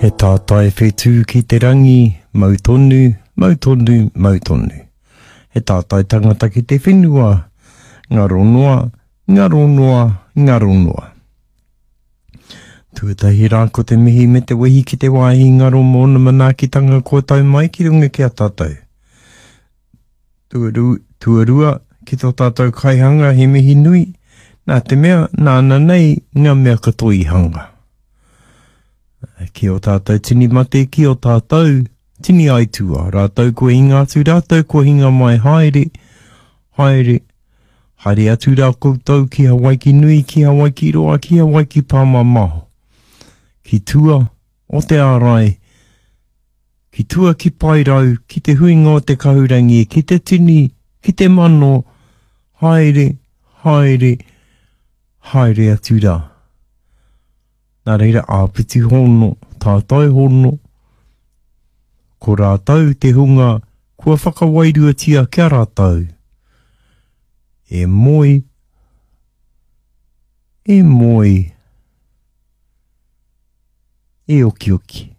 He tātai whetū ki te rangi, mau tonu, mau tonu, mau tonu. He tātai tangata ki te whenua, ngaro noa, ngaro noa, ngaro noa. Tuatahi rā ko te mihi me te wehi ki te wāhi ngaro mōna manaakitanga kua tau mai ki runga ki a tātou. Tuaru, tuarua, ki tō tātou kaihanga he mihi nui, nā te mea, nāna nei ngā mea katoa i hanga. Ki o tātou tini mate, ki o tātou tini aitua, rātou kua hinga atu, rātou kua hinga mai, haere, haere, haere atu rā koutou ki Hawaiki nui, ki Hawaiki roa, ki Hawaiki pāmamao, ki tua o te ārai, Ki tua ki Paerau, ki te huinga o te kahurangi, ki te tini, ki te mano, haere, haere, haere atu rā. Nā reira, āpiti hono, tātai hono, ko rātou te hunga kua whakawairuatia kia rātou. E moe, e moe, e okioki.